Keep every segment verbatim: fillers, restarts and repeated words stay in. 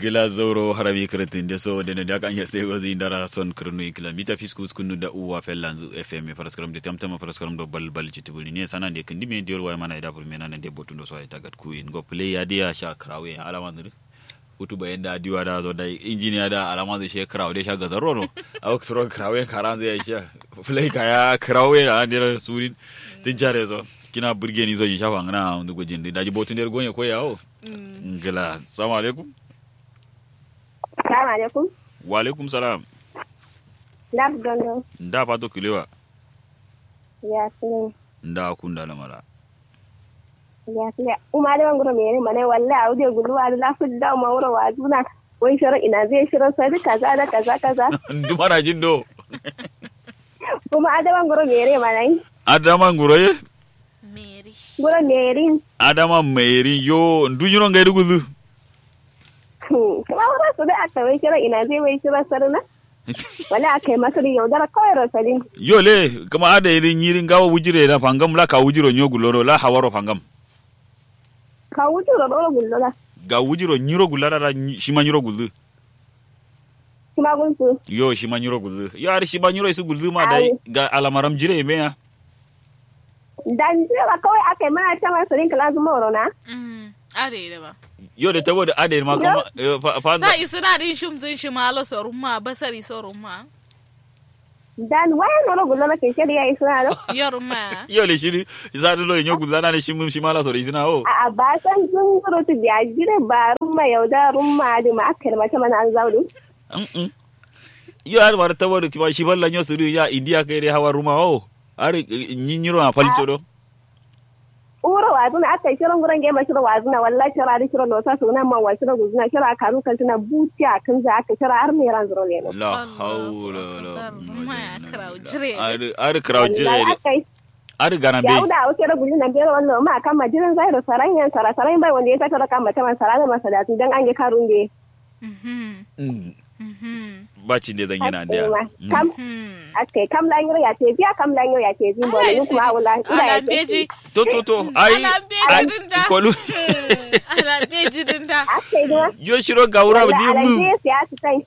Gla zauro harami kǝrǝtǝ nde so nde nde aka nya ste gozi ndara son kǝrǝnu ikla mita fisku skunu da uwa fellanzu fm faraskaram de tamtama faraskaram do bal bal citibuli ne sana nde kǝndi me diol waya mana ida fur mena nde botundo so ay tagat ku in go play ya dia sha krawe alama ndu. Futu bayan da diwa da so dai injiniya da alama ndu she krawe de sha gazaro no. Awo suro krawe karanzu ya sha play kaya krawe a ndira surin. Tijare so kina burgeni so sha fangana ndu gojin daji botun der gonye ko yawo. Ngla salamu alaikum. Salamu alaikum. Wa alaikum salam. Nda dondo. Nda fato kilewa. Ya sini. Nda kunda lamara. Ya sini. Uma da wanguro mere mana walla audio guluwa da lafu da uma wuro wazuna. Wai shiro ina zai shiro sai kaza da kaza kaza. Ndumara jindo. Kuma adama nguro mere mana yi. Adama nguro ye. Meri. Nguro meri. Adama meri yo ndu nyiro ngai duguzu. Kuma wuro su da aka wai shiro ina zai wai shiro saruna. Wala aka yi masari yaudara kawai rosalin. Yo le kuma ada yi nyiri ngawo wujire na fangam la ka wujiro nyo gulono la hawaro fangam. Ka wujiro doro gulola. Ga wujiro nyiro gulola da shima nyiro guzu. Shima gulzu. Yo shima nyiro gulzu yo ari shima nyiro isu gulzu ma dai. Ga alamaram jire me ya. Dan jire ba kawai aka yi mana ta ma sirin kala zuma wuro na. Ade da ba. Yo da tabo da ade ma kuma fa sa isina din shum zun shima lo sorun ma basari sorun ma. Dan waya noro gullo na keke da yayi suna no. Yor ma. Yo le shiri. Isa do lo nyo gullo na ne shimum shimala soro isina o. A ba san zun zuru tu biya jire ba rumma yauda rumma adi ma akker ma ta mana an zaudu. Mm. Yo ar mar tabo do kima shiballa nyo suru ya india kai re hawa rumma o. Ar nyinyiro a falco do. Uro wazuna aka shiro nguro nge ma shiro wazuna wallahi shiro adi shiro losa suna ma wa shiro guzuna shiro akaru kaltuna buti akinza aka shiro har ne ran zuro leno. La haula wala. Maya krawo jire. Ari ari krawo jire. Ari gana be. Yauda o shiro guzuna be wallo ma kama jiran zairo saranyan sara saran bai wanda ya sata da kama taman sara da masada dan an ge karun be. Ba cinde zan yana da. Kam akai kam la nyiro ya te biya kam la nyiro ya te biya. Ala beji. To to to ai. Kolu. Ala beji din da. Yo shiro gaura dimu.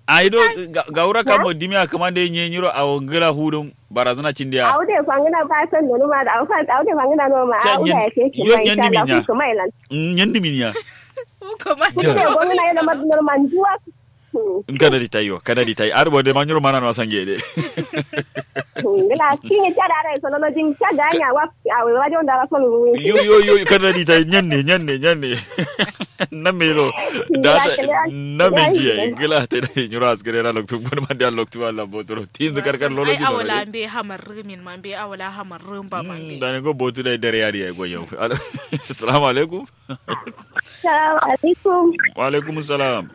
Ai do gaura kamo dimi akama de nye nyiro awo ngira hudum barazana cindiya. Awo de fangina ba san nonu ma da awo fa awo de fangina no ma awo da ya te. Yo nyen dimi nya. Nyen dimi nya. Kuma. Kuma. Kuma. Kuma. Kuma. Kuma. Kuma. Nka da di tayi wa ka da di tayi ar bo de ma nyuro mana no sange de. Ngla kinye cha da rai solo no jin cha ga nya wa a we wa jon da ra solo ru. Yo yo yo ka da di tayi nyanne nyanne nyanne. Na me ro da na me ji ai ngla te da nyuro askare ra loktu bon ma da loktu Allah botoro tin zakar kar lolo. Ai awala be hamar min man be awala hamar ba man be da ne go botu da dare yari ai go yau. Assalamu alaikum. Salamu alaikum. Wa alaikum salam.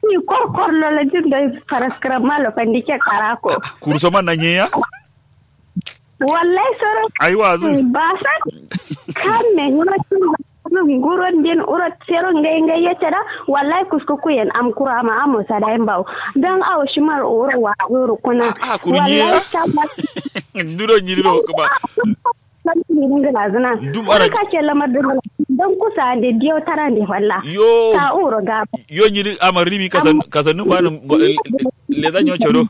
Ki kor kor lolo jin doi faraskram malo fandike karako. Kurso man na nyeya. Wallahi soro. Ai wazu. Basa. Kamme ngoro cin nguro din uro sero ngai ngai ya tada. Wallahi kusku kuyen am kura ma amo sada en bawo. Dan awo shimar uro wa uro kuna. A kuru nyeya. Wallahi. Duro nyiri do kuma. San kiri ngila zina. Dum ara ka ce lamar dum don kusa de diyo tara de falla. Yo. Ka uro ga. Yo nyiri amar ribi kasan kasan num ba num leza nyo chodo.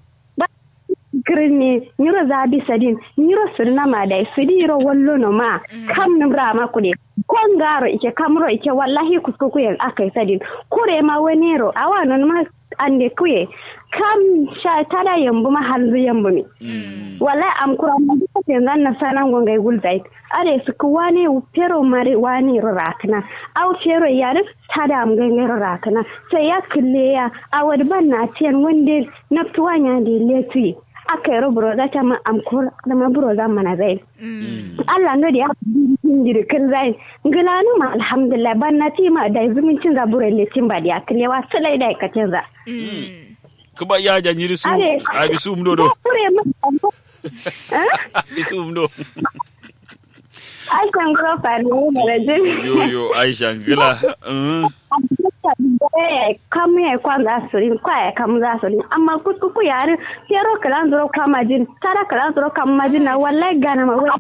Kirin ne nyiro zabi sadin nyiro sirna ma dai sidi ro wallo no ma. Kam num rama kude. Kongaro ike kamro ike wallahi kuskukuyen akai sadin. Kure ma wenero awa non ma. Ande kuye kam sha tada yambu ma hanzu yambu mi. Wallahi am kura ma duka tengan na sanan go ngai gulzai. Are suku wane pero mare wane ro rakna. Au pero yare tada am ngai ngai ro rakna. Sai ya kille ya awad ban na tiyan wande naftu wanya de letu. Aka yaro buro za ta ma am kura da ma buro za mana zai. Allah no diya. Jiri kǝl zayin ngǝlanǝma alhamdulillah banna tima dai zumuncin za buro letin ba diya kǝlewa sǝlai dai katin za. Kǝba ya ja nyiri su abi su umdo do. Abi su umdo. Ai kanguro fari ne mara jin. Yo yo aisha ngǝla. Kam ye kwan za su rin kwa ye kam za su rin amma kusku ku yari. Fero kǝlan zuro kwa majin tara kǝlan zuro kwa majin na wallahi gana ma wai.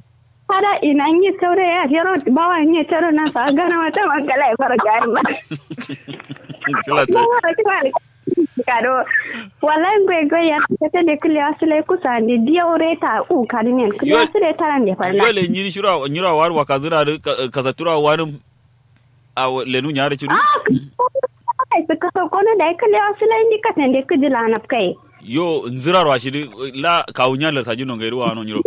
Ada ina nyi saure ya fero bawa nyi tero na sa gana wata mangala ya fara gari ma. Kila ta. Kado. Wallahi ngwe ngwe ya kete de kile asile kusa de dia ore ta u kadinen kile asile ta ran de fara. Yo le nyiri shura nyura war wa kazura de kasatura wani a lenu nyare chiri. Ah, kasa kono da kile asile ndi katen de kujila na kai. Yo nzira rwa shidi la kawunya la sajino ngairu wano nyiro.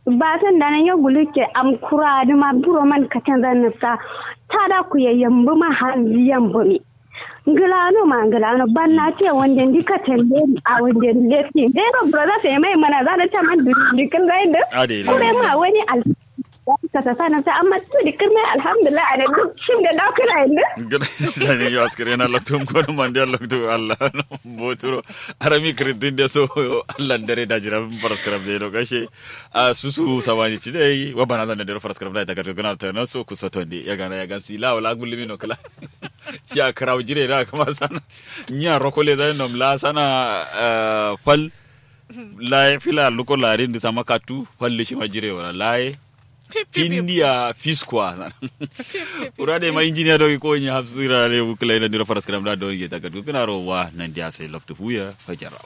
Ba san da nan ya guluke am kura da ma buro man ka canza nasa ta da ku ya yambu ma hanzi yambu mi. Ngilano ma ngilano ban na ce wanda ndi ka canza a wanda ndi lefi dai ba buro za su yi mai mana za da ta man dikin zai da. Ade kure ma wani al ka ta sana ta amma tu dikin mai alhamdulillah a da duk shim da dakuna inda. Gana da ne yau askare na lokto ko man da lokto Allah. Boturo arami kritin da so Allah dare da jira faras karam da yau kashe. A susu samani ci dai wa bana zan da faras karam da ta garga gana ta nan so kusa tonde ya gana ya gansi la wala gulmi no kala. Shi a karawo jire da kuma sana nya rokole da nom la sana. Fal laye fila luko larin da sama katu fal shi ma jire wala laye. Findiya fiskwa. Ura da ma injiniya dogi ko nya hafsira ne bukla ina dira faras karam da dogi ta katu kana rowa nan dia sai loktu fuya fajarau.